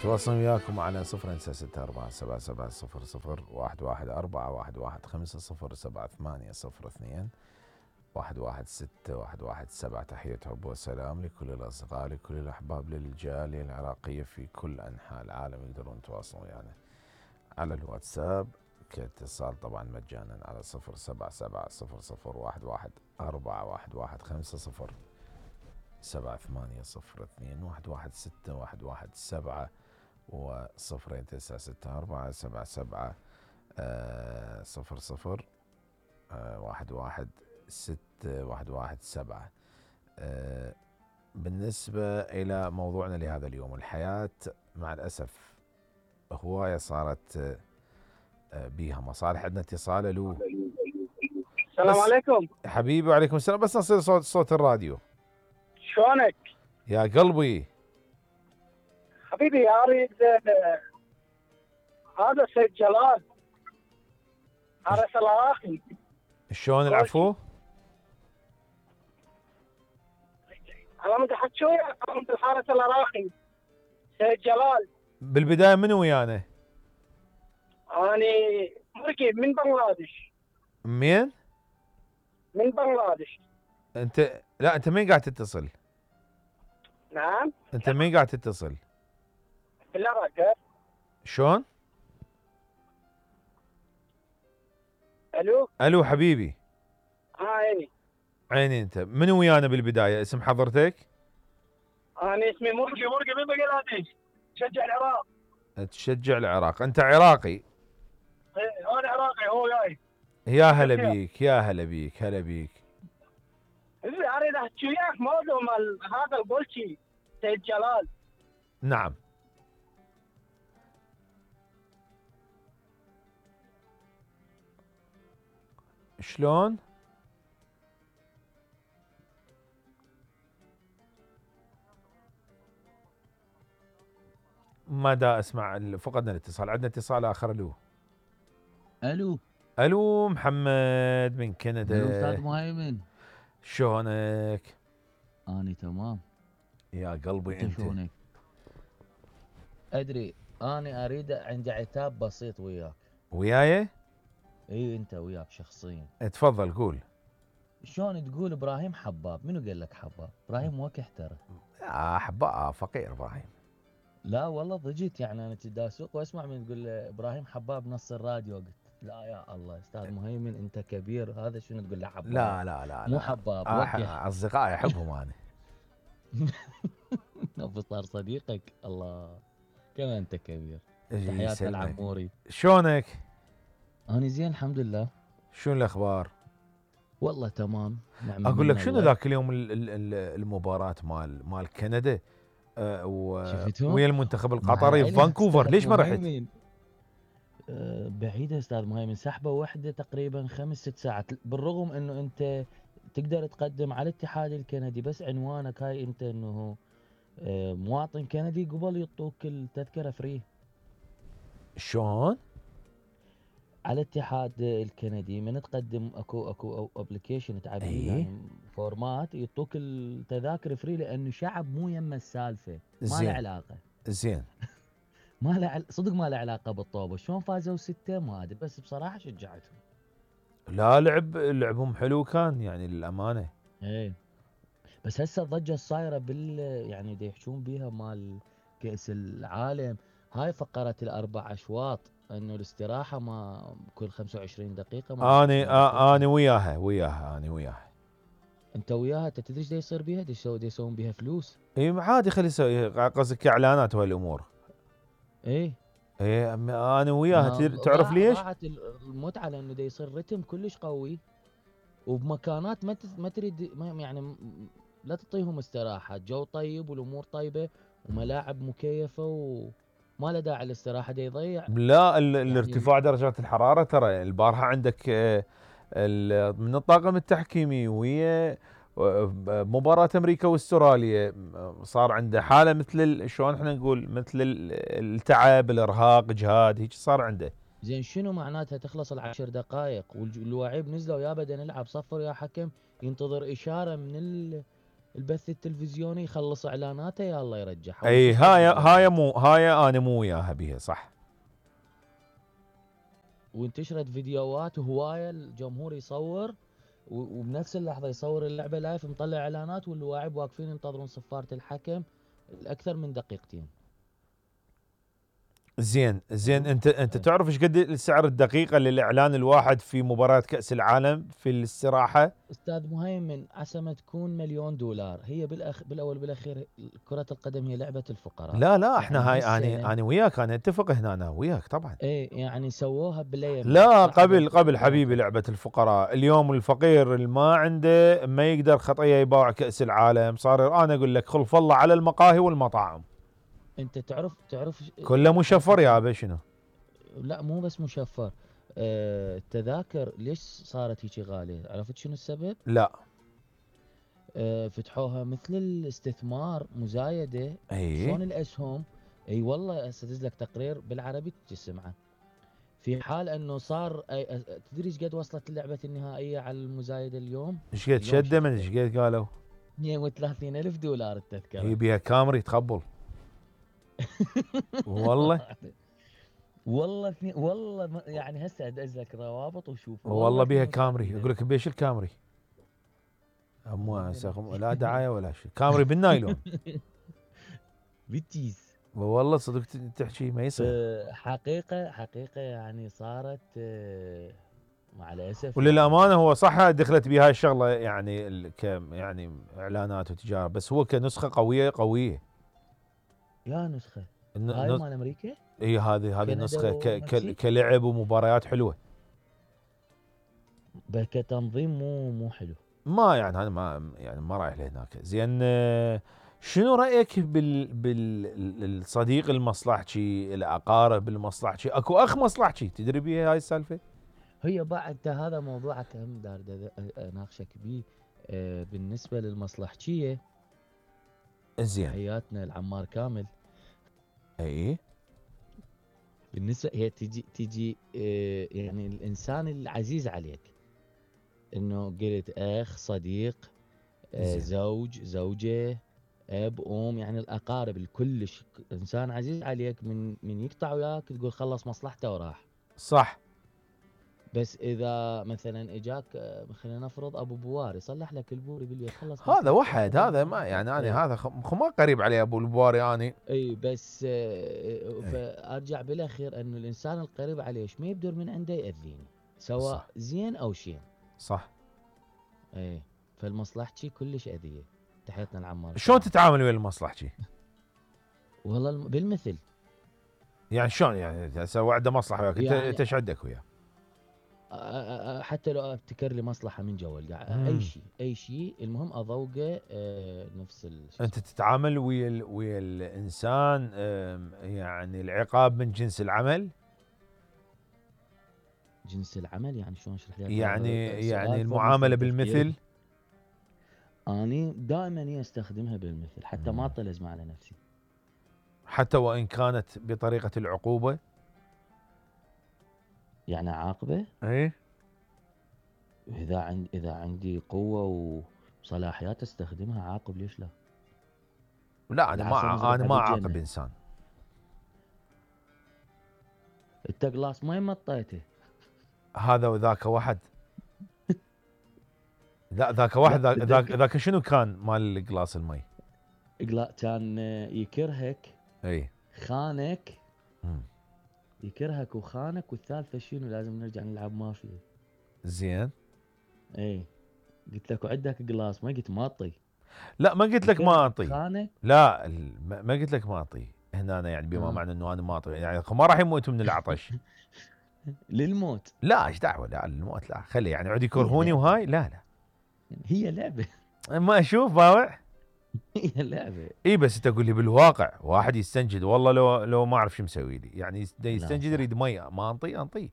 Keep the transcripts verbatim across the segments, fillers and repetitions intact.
تواصل وياكم على صفر تسعة ستة أربعة سبعة سبعة صفر صفر واحد واحد أربعة واحد واحد خمسة صفر سبعة ثمانية صفر اثنين واحد واحد ستة واحد واحد سبعة. تحية حب وسلام لكل الأصدقاء لكل الأحباب للجالية العراقية في كل أنحاء العالم. يقدرون يتواصلون ويانا يعني على الواتساب كاتصال طبعا مجانا على صفر سبعة سبعة صفر صفر واحد واحد أربعة واحد واحد خمسة صفر سبعة ثمانية صفر اثنين واحد واحد ستة واحد واحد سبعة وصفرين تسعة ستة أربعة سبعة سبعة آه صفر صفر آه واحد واحد ستة واحد واحد سبعة. آه بالنسبة إلى موضوعنا لهذا اليوم، الحياة مع الأسف هواية صارت آه بيها مصالح. عندنا اتصال. الو السلام عليكم حبيبي. وعليكم السلام. بس نصير صوت صوت الراديو. شلونك يا قلبي حبيبي؟ اريد هذا سيد جلال عرس العراقي. شلون العفو؟ انا بدي احكي وياك عن الحارس العراقي سيد جلال. بالبداية منو ويانا؟ اني مركب من بنغلاديش. مين؟ من بنغلاديش. انت لا انت مين قاعد تتصل؟ نعم. انت مين قاعد تتصل؟ بالعراق. شلون؟ الو الو حبيبي. ها عيني عيني. انت منو ويانا بالبداية؟ اسم حضرتك؟ انا اسمي مرقي مرقي من بنغلاديش. شجع العراق. تشجع العراق. انت عراقي؟ ايه انا عراقي هو جاي. يا هلا بيك يا هلا بيك هلا بيك. اريد احكي وياك موضوع مال هذا البولشي سيد جلال. نعم. شلون؟ ما دا اسمع. فقدنا الاتصال. عندنا اتصال اخر. الو الو الو محمد من كندا. الو استاذ مهيمن. شلونك؟ اني تمام. يا قلبي انت انت شلونك؟ ادري اني اريد عندي عتاب بسيط وياك. وياي؟ اي انت وياك شخصيا. تفضل قول. شلون تقول ابراهيم حباب؟ منو قال لك حباب؟ ابراهيم وكح ترى. احباء فقير ابراهيم. لا والله ضجيت يعني انا تداسوق واسمع من تقول ابراهيم حباب نص الراديو. قلت لا يا الله استاذ مهيمن انت كبير. هذا شنو تقول له حباب؟ لا لا لا مو لا. حباب أح... وكح. اصدقائي احبهم انا. ابو صار صديقك. الله كما انت كبير. يجي تحياتنا يسلمك. العموري. شلونك؟ انا زين الحمد لله. شنو الاخبار؟ والله تمام. نعم. اقول لك شنو الله. ذاك اليوم ال- ال- ال- المباراة مال مال كندا أه و... شفتهم؟ ويا المنتخب مع القطري في العلم فانكوفر. أستاذ ليش ما رحت؟ مهيمن، أه بعيدة استاذ مهيمن. سحبة واحدة تقريبا خمس ست ساعات. بالرغم انه انت تقدر تقدم على الاتحاد الكندي بس عنوانك هاي انت انه أه مواطن كندي قبل يعطوك التذكرة فري. شلون؟ على الاتحاد الكندي من تقدم اكو اكو ابلكيشن تعبيه ايه؟ يعني فورمات يعطوك التذاكر فري لانه شعب مو يم السالفة. ما له زين علاقة. زين. ما له عل... صدق ما له علاقه بالطوبه. شلون فازوا سته ما ادري بس بصراحه شجعتهم. لا لعب لعبهم حلو كان يعني للامانه. ايه بس هسه الضجه الصايره بال يعني دا يحجون بيها مال كاس العالم. هاي فقره الاربع اشواط انه الاستراحه ما كل خمسة وعشرين دقيقه ما اني آه اني وياها وياها اني وياها. انت وياها. انت تدري ايش دا يصير بيها؟ دا يسوون دا يسوون بيها فلوس. اي عادي خلي يسوي قصدك اعلانات وهالامور. ايه ايه انا وياها. ما تعرف ضاع ليش؟ ضاعت المتعه لانه دا يصير رتم كلش قوي وبمكانات ما ما تريد ما يعني لا تعطيهم استراحه. جو طيب والامور طيبه وملاعب مكيفه وما له داعي الاستراحه. دا يضيع لا ال... يعني الارتفاع درجات الحراره ترى البارحه عندك آه ال... من الطاقم التحكيمي ويا مباراة امريكا واستراليا صار عنده حالة مثل ال... شلون احنا نقول مثل ال... التعب الارهاق اجهاد هيك صار عنده. زين شنو معناتها تخلص العشر دقائق واللاعب نزلوا يا بدا نلعب صفر يا حكم ينتظر اشاره من البث التلفزيوني يخلص اعلاناته يلا يرجع. اي هاي هاي مو هاي انا مو وياها بيها صح. وانتشرت فيديوهات وهوايه الجمهور يصور و- وبنفس اللحظه يصور اللعبه لايف مطلع اعلانات واللاعب واقفين ينتظرون صفاره الحكم الاكثر من دقيقتين. زين زين انت انت تعرف ايش قد السعر الدقيقه للاعلان الواحد في مباراه كاس العالم في الاستراحه؟ استاذ مهيمن عسى ما تكون مليون دولار. هي بالأخ... بالاول بالاخير كره القدم هي لعبه الفقراء. لا لا احنا يعني هاي هالسنة- انا انا وياك انا اتفق هنا انا وياك طبعا. ايه يعني سووها باليمين. لا صح قبل بس- قبل حبيبي لعبه الفقراء. اليوم الفقير اللي ما عنده ما يقدر خطيه يباع كاس العالم صار انا اقول لك خلف الله على المقاهي والمطاعم انت تعرف تعرف كله مشفر يا ابي شنو. لا مو بس مشفر. آه، التذاكر ليش صارت هيك غاليه؟ عرفت شنو السبب؟ لا آه، فتحوها مثل الاستثمار مزايده. اي شلون الاسهم؟ اي والله هسه ادز لك تقرير بالعربي تسمعه. في حال انه صار أي- أ- تدري ايش قد وصلت اللعبه النهائيه على المزايده اليوم؟ ايش قد اليوم شده من شفته. ايش قد قالوا؟ اثنين وثلاثين ألف دولار التذكره. هي بيها كامري تقبل والله والله اثنين والله ما- يعني هسه ادز لك روابط وشوف. والله بيها اثنين وثلاثين كامري ألف. اقول لك بيش الكامري مو والله سخم لا دعايه ولا شيء كامري بالنايلون بالتيس. والله صدق تحكي ما يصير. آه، حقيقه حقيقه يعني صارت آه، مع الاسف. وللامانه هو صح دخلت بهاي الشغله يعني ال- ك يعني اعلانات وتجاره بس هو كنسخه قويه قويه. يا نسخه الن- هاي نس- مال امريكا. هي هذه هذه كندا النسخه ك ك والمكسيك؟ كلعب ومباريات حلوه. بس كتنظيم مو مو حلو. ما يعني انا ما يعني ما رايح لهناك. زين آه، شنو رايك بال بالصديق المصلحجي الاقارب المصلحجي اكو اخ مصلحجي تدري بيها هاي السالفه؟ هي بعد هذا موضوعك هم دار دا- اناقشك بيه. آه، بالنسبه للمصلحجيه زين حياتنا العمار كامل. اي بالنسبه هي تجي تجي آه، يعني الانسان العزيز عليك انه قلت اخ صديق آه، زين. زوج زوجه اب ام يعني الاقارب الكلش انسان عزيز عليك من من يقطع وياك تقول خلص مصلحته وراح. صح بس اذا مثلا اجاك آه، خلينا نفرض ابو بوار يصلح لك البور يقول لي خلص هذا مصلحته وحد وراح. هذا ما يعني إيه. انا هذا خ- خ- ما قريب عليه ابو البواري اني. اي بس آه، فارجع بالاخير انه الانسان القريب عليه ايش ما يبدر من عنده ياذيني سواء صح. زين او شين. صح. اي فالمصلحتي كلش اذيه. تحياتنا العمار. شلون تتعامل ويا المصلحجي؟ والله الم- بالمثل. يعني شلون يعني هسه وعده مصلحه وياك انت يعني- انت ايش عندك وياه؟ أ- أ- أ- حتى لو ابتكر لي مصلحه من جوال قاعد مم. اي شيء اي شيء المهم اذوقه آه، نفس ال- شو انت اسمه. تتعامل ويا ال- ويا الانسان أم، يعني العقاب من جنس العمل. جنس العمل يعني شلون اشرح لك؟ يعني هذا يعني سؤال المعامله فوق مستوى بالمثل. تفكيري. اني دائما هي استخدمها بالمثل حتى ما مم. اطلز على نفسي. حتى وان كانت بطريقه العقوبه. يعني عاقبه اي اذا عند اذا عندي قوه وصلاحيات استخدمها عاقب ليش لا؟ لا انا العصا ما مزرعة انا ما اعاقب بالجنة. انسان. انت قلاص مي مطيته. هذا وذاك واحد. لا ذاك واحد ذاك ذاك, تتذكر- ذاك شنو كان مال قلاص المي؟ قلا كان يكرهك اي خانك مم. يكرهك وخانك والثالثه شنو لازم نرجع نلعب مافيا. زين. اي قلت لك وعندك قلاص ما قلت ماطي. لا ما قلت لك ما اعطي. خانك لا ال- ما ما قلت لك ما اعطي هنا أنا يعني بما آه. معنى انه انا ما اعطي يعني ما راح يموتوا من العطش. للموت. لا ايش دعوه لا الموت لا خلي يعني عود يكرهوني وهاي لا لا هي لعبه. ما اشوف باوع. هي لعبه. اي بس انت تقول لي بالواقع واحد يستنجد والله لو لو ما اعرف شو مسوي لي يعني يس- دا يستنجد صح. يريد مي ما انطي انطي.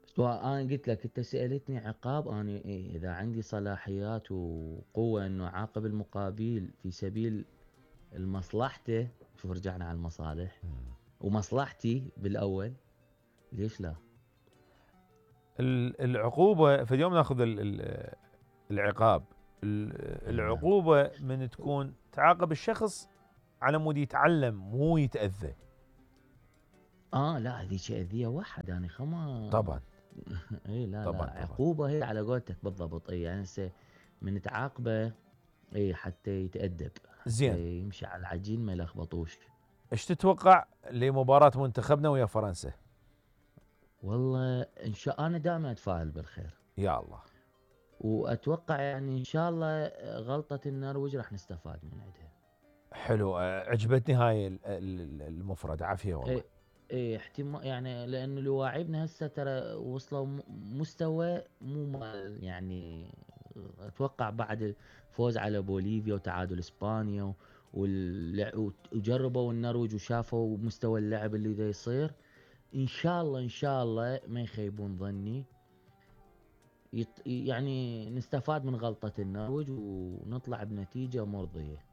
بس انا قلت لك انت سالتني عقاب انا إيه اذا عندي صلاحيات وقوه انه اعاقب المقابل في سبيل المصلحته. شوف رجعنا على المصالح ومصلحتي بالاول ليش لا؟ ال- العقوبه في اليوم ناخذ ال- ال- العقاب العقوبه من تكون تعاقب الشخص على مود يتعلم مو يتاذى. اه لا هذيك اذيه واحد يعني خما طبعا اي لا طبعا لا طبعا. عقوبه هي على قولتك بالضبط. اي يعني هسه من تعاقبه اي حتى يتادب، زين يمشي على العجين ما يلخبطوش. ايش تتوقع لمباراه منتخبنا ويا فرنسا؟ والله ان شاء انا دائما اتفائل بالخير، يا الله. واتوقع يعني ان شاء الله غلطه النرويج راح نستفاد من عندها. حلو، عجبتني هاي ال- ال- المفردة، عافية والله. اي اي احتمال يعني لانه لواعبنا هسه ترى وصلوا م- مستوى مو مال يعني. اتوقع بعد الفوز على بوليفيا وتعادل اسبانيا واللع- وجربوا النرويج وشافوا مستوى اللعب اللي دا يصير. ان شاء الله ان شاء الله ما يخيبون ظني، يط... يعني نستفاد من غلطة النرويج ونطلع بنتيجة مرضية.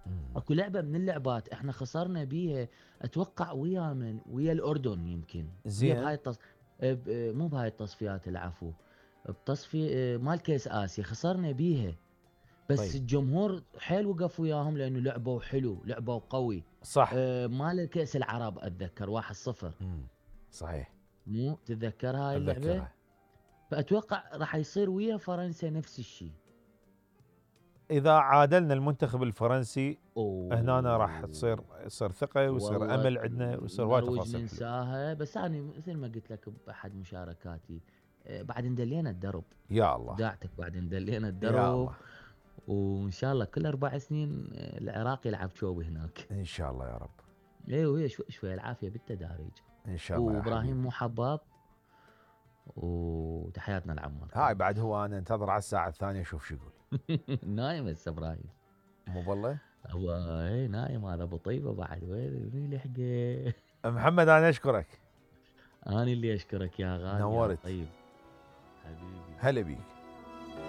مم. اكو لعبة من اللعبات احنا خسرنا بيها اتوقع ويا من ويا الاردن يمكن. زين. هي بهاي التص... ب... مو بهاي التصفيات العفو، بتصفي مال كيس اسيا خسرنا بيها. بس طيب. الجمهور حيل وقف وياهم لانه لعبوا حلو لعبوا قوي. صح. آه، مال كأس العرب اتذكر واحد صفر. مم. صحيح. مو تتذكر هاي اللعبة؟ اتذكرها. فاتوقع راح يصير ويا فرنسا نفس الشيء. اذا عادلنا المنتخب الفرنسي أوه. هنا راح تصير يصير ثقة ويصير والله امل عندنا ويصير وايد النرويج تفاصيل حلوة. ننساها، بس انا مثل ما قلت لك باحد مشاركاتي آه، بعد ندلينا الدرب. يا الله. داعتك بعد ندلينا يا الدرب. الله. وان شاء الله كل اربع سنين آه، العراق يلعب شوبي هناك. ان شاء الله يا رب. ايوه هي شوي شوي العافيه بالتداريج. ان شاء الله يا وابراهيم حبيبي. مو حباب وتحياتنا لعمر. هاي بعد هو انا انتظر على الساعة الثانية اشوف شو يقول. نايم هسه ابراهيم. مو والله؟ هو اي نايم هذا ابو طيبه بعد وين وين لحقه. محمد انا اشكرك. انا اللي اشكرك يا غالي. نورت. يا طيب حبيبي. هلا بيك.